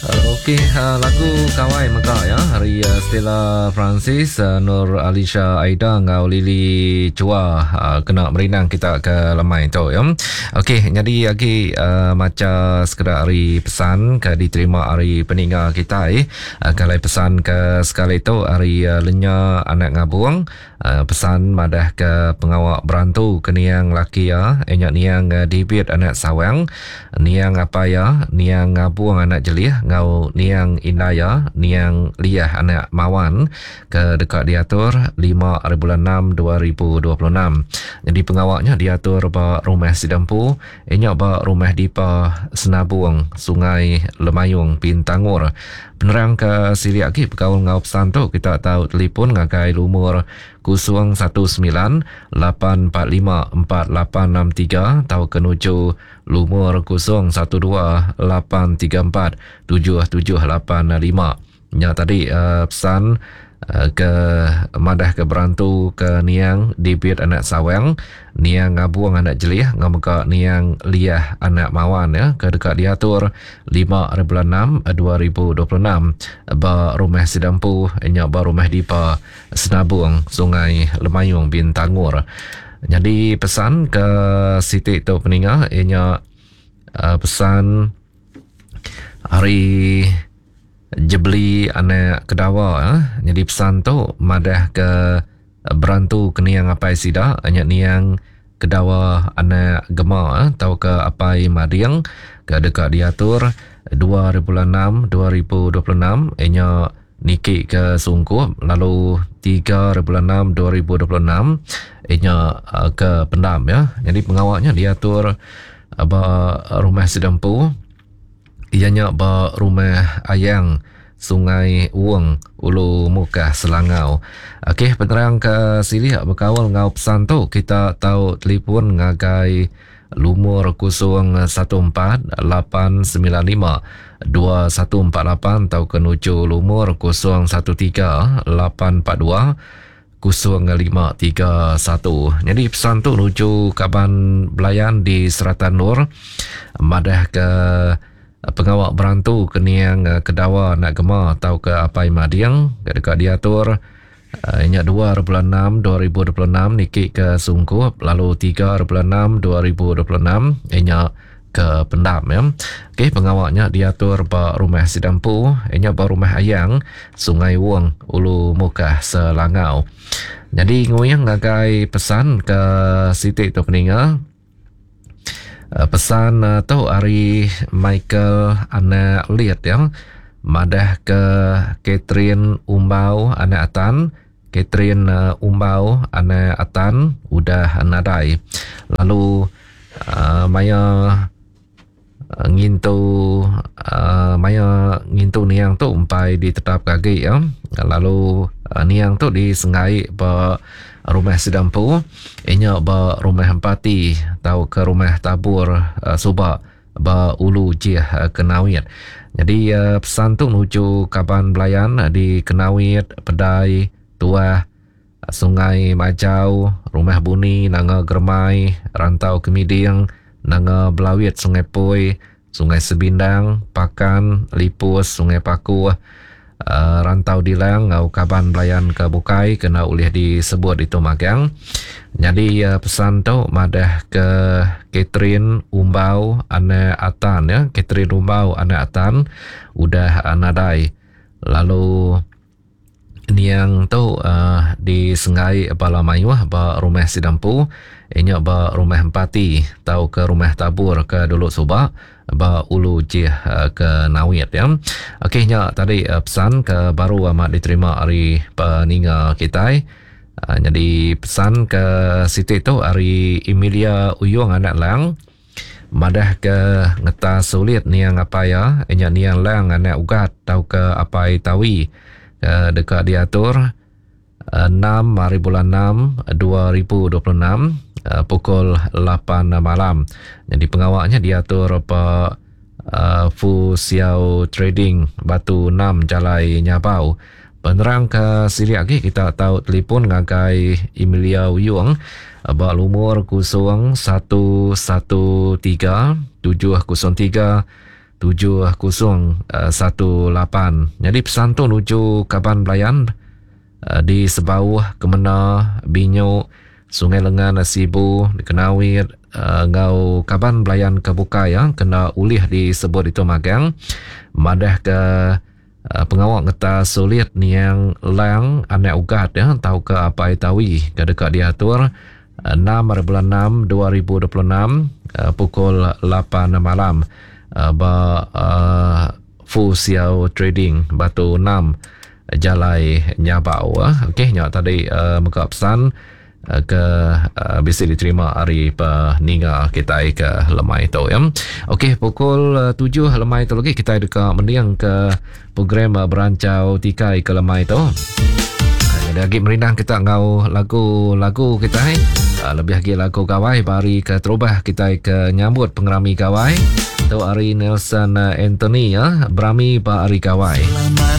Okey, lagu Kawai mega ya hari Stella Francis, Nur Alisha Aida enggau Lily Chua kena merindang kita ke lemai tu ya. Okey, nyadi agi macha sekeda ari pesan ke diterima ari peninga kitai. Kalai pesan ke sekali tu ari Lenya Anak Ngabung. Pesan madah ke pengawa berantu ke niang laki iya iya nya niang David anak Sawang, niang apai iya niang Ngabung anak Jelih enggau niang indai iya niang Liah anak Mawan ke deka diatur lima ari bulan enam 2026. Nyadi pengawa nya diatur ba rumah sida empu iya nya ba Rumah Dipa Senabung, Sungai Lemayung, Bintangor. Penerang ke silik agi bekaul enggau pesan tu kita tau telefon ngagai lumur 019 845 4863 tauka nuju lumur 012 834 7785. Nya tadi pesan ke madah ke berantu ke niang David anak Sawang, niang Ngabung anak Jelih enggau mega niang Liah anak Mawan ya ke deka diatur lima ari bulan enam 2026 ba rumah sida empu nya ba rumah Dipa Senabung Sungai Lemayung Bintangor. Nyadi pesan ke siti tu peninga iya nya pesan ari Jebeli anak Kedawa eh. Nyadi pesan tu madah ke berantu ke niang apai sida nya niang Kedawa anak Gema eh, tauka apai Mading ke deka diatur dua hari bulan enam 2026 inya niki ke Sungkup lalu tiga hari bulan enam 2026 inya eh, ke Pendam ya. Nyadi pengawa nya diatur ba rumah sida empu. Iya nya ba Rumah Ayang, Sungai Wong, Ulu Mukah, Selangau. Okey, penerang ke silik bekaul enggau pesan tu kita tau telefon ngagai lumur 014 895 2148 tauka nuju lumur 013 842 0531. Nyadi pesan tu nuju kaban belayan di serata endur madah ke pengawa berantu ke niang Kedawa anak Gema tauka Apai Mading ke deka diatur nya 2 bulan 6 2026 niki ke Sungkup lalu 3 bulan 6 2026 nya ke Pendam ya. Okey pengawa nya diatur ba rumah sida empu nya ba rumah Ayang Sungai Wong Ulu Mukah Selangau. Nyadi nguing ngagai pesan ke siti tu peninga. Eh, pesan eh, tu ari Michael anak Lit ya. Madah ke Catherine Umbau anak Atan Catherine eh, Umbau anak Atan udah nadai. Lalu uh, maya ngintu uh, maya ngintu niang tu empai ditetapka agi ya. Lalu uh, niang tu disenggai ba rumah sida empu inya ba rumah Empati tauka rumah Tabur uh, suba ba Ulu Jih uh, Kenawit. Jadi uh, pesan tu nuju kaban belayan di Kenawit, Pedai, Tuah, Sungai Majau, Rumah Buni, Nanga Germai, Rantau Kemiding, Nanga Belawit, Sungai Poi, Sungai Sebindang, Pakan, Lipus, Sungai Pakuh, uh, Rantau Dilang enggau kaban belayan ke bukai kena ulih disebut ditu magang. Nyadi uh, pesan tu madah ke Catherine Umbau anak Atan ya, Catherine Umbau anak Atan udah uh, nadai lalu Niang tu uh, disenggai bala mayuh ba rumah sida empu inya ba rumah Empati tauka rumah Tabur ke dulu suba ba Ulu Jih uh, ke Nawit ya. Okey nya tadi uh, pesan ke baru amat diterima ari peninga kitai. Uh, nyadi pesan ke siti tu ari Emilia Uyong anak Lang. Madah ke ngetas sulit niang apai iya, nya niang Lang anak Ugat tauka apai Tawi ke deka diatur enam hari bulan enam 2026 pukul lapan malam. Nyadi pengawa nya diatur ba Fu Xiao Trading Batu enam Jalai Nyabau. Penerang ke silik agi kita tau telefon ngagai Emilia Uyong ba lumur 0113 703 7018. Nyadi pesan tu nuju kaban belayan di Sebauh, Kemena, Binyo, Sungai Lengan, Sibu, Kenawit enggau kaban belayan ke bukai kena ulih disebut ditu magang madahka pengawa ngetas sulit niang Lang anak Ugat tauka Apai Tawi ke deka diatur 6 hari bulan 6 2026 pukul 8 malam ba Fu Xiao Trading Batu 6 Jalai Nyabau. Okey nya tadi mega pesan ke bisi diterima ari peninga kitai ke lemai tu ya. Okey pukul 7 lemai tu lagi kitai deka mending ke program berancau tikai ke lemai tu. Jadi agi merindang kita enggau lagu-lagu kitai lebih agi lagu gawai ba hari ke terubah kitai ke nyambut pengerami gawai. Tu ari Nelson Anthony ya berami ba hari gawai.